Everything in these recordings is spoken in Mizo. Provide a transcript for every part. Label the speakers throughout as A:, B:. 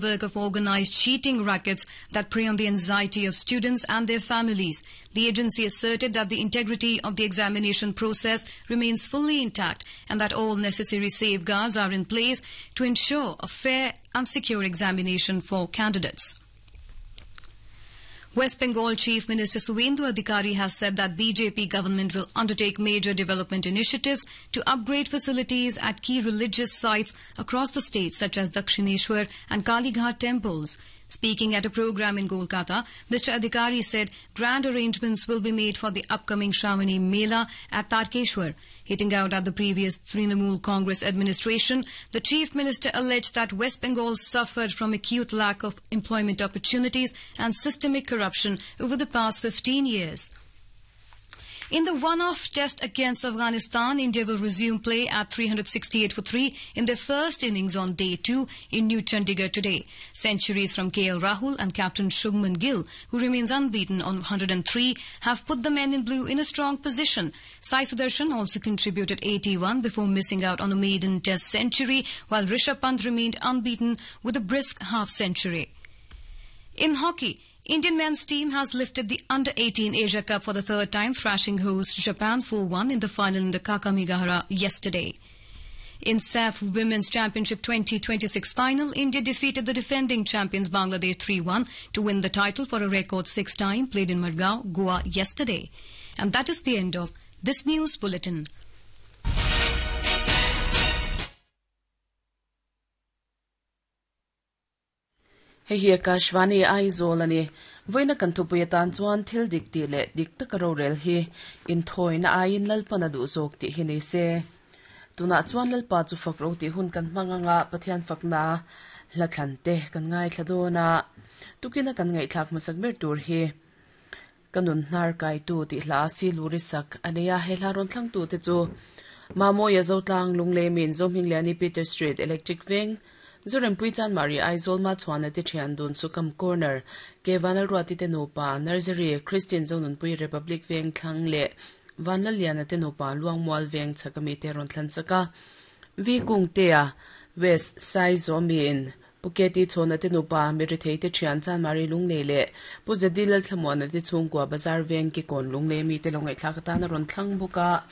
A: Work of organized cheating rackets that prey on the anxiety of students and their families. The agency asserted that the integrity of the examination process remains fully intact and that all necessary safeguards are in place to ensure a fair and secure examination for candidates. West Bengal Chief Minister Suvendu Adhikari has said that BJP government will undertake major development initiatives to upgrade facilities at key religious sites across the state such as Dakshineshwar and Kalighat temples. Speaking at a program in Kolkata, Mr. Adhikari said grand arrangements will be made for the upcoming Shravani Mela at Tarkeshwar. Hitting out at the previous Trinamool Congress administration, the Chief Minister alleged that West Bengal suffered from acute lack of employment opportunities and systemic corruption over the past 15 years. In the one-off test against Afghanistan, India will resume play at 368 for 3 in their first innings on day 2 in New Chandigarh today. Centuries from KL Rahul and captain Shubman Gill, who remains unbeaten on 103, have put the men in blue in a strong position. Sai Sudarshan also contributed 81 before missing out on a maiden test century, while Rishabh Pant remained unbeaten with a brisk half century. In hockey, Indian men's team has lifted the Under-18 Asia Cup for the third time, thrashing host Japan 4-1 in the final in the Kakamigahara yesterday. In SAF Women's Championship 2026 final, India defeated the defending champions Bangladesh 3-1 to win the title for a record sixth time played in Margao, Goa yesterday. And that is the end of this news bulletin.
B: Hei hi Akashvani Aizawl a ni. Vawiina kan thupui atan chuan thil dik tih leh dik taka rorel hi inthawina aiin Lalpan a duh zawk tih hi ni se. Tunah chuan Lalpa chu fak ro tih hun kan hmang anga Pathian fakna hla thlan te kan ngaithla dawn a. Tukina kan ngaihthlak hmasak ber tur hi Ka nun hnar kaitu tih hla a si luri sak a nei a, he hla rawn thlangtu te chu Mamawia Zotlang, Lungleimin, Zohmingliani Peter Street, Electric Veng, Zorempui Chanmari Aizawl Machhuana te thian dun Sukam Corner, Ke Vanlalruati te nupa, Nursery, Christian Zonunpui Republic Veng thlang leh Vanlalliana te nupa Luangmual Veng chhak ami te rawn thlan sak a. V Kungtea, West Saizawmiin Pu Keti Chhawna te nupa, Mirithei te thian Chanmari Lunglei leh Pu Zedi Lalthlamuana te chhungkua Bazar veng Kikawn Lunglei mite lo ngaihthlak atan a rawn thlang bawk a.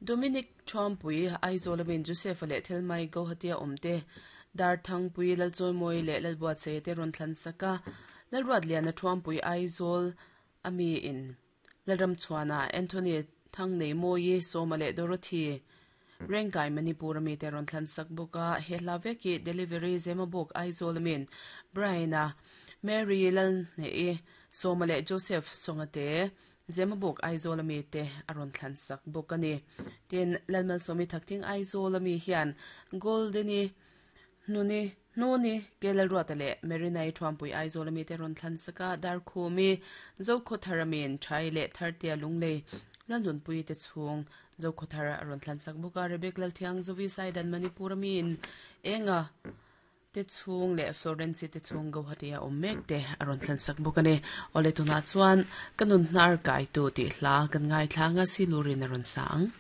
B: Dominic Thuampui, Aizawl a min Joseph-a leh Thelmai Gauhati-a awm te, Darthangpui Lalchawimawi leh Lalbuatsaia te rawn thlan sak a, Lalruatliana Thuampui Aizawl a mi in Lalramchhuana, Anthony Thangneimawii, Sawma leh Dorothy Rengkai Manipur ami te rawn thlan sak bawk a, he hla vek hi Delivery Zemabawk Aizawl amin Brian-a, Mary Lalhnehi, Sawma leh Joseph Songa te Zemabawk Aizawl ami te a rawn thlan sak bawk a ni. Tin, Lalmalsawmi Thakthing Aizawl ami hian Golden-i Hnuni, Hnuni, Kelalruata leh Marinai Thuampui Aizawl ami te rawn thlan sak a, Darkhumi, Zokhawthar amiin Thai leh Thartea Lunglei, Lalnunpui te chhung Zokhawthar a rawn thlan sak bawk a, Rebek Lalthiang Zovi Saidan Manipur amiin Enga te chhung leh Florence te chhung Guwahati a awm mek te a rawn thlan sak bawk a ni. Awle tunah chuan ka nun hnar kaitu tih hla kan ngaithla anga Silurin a rawn sa ang.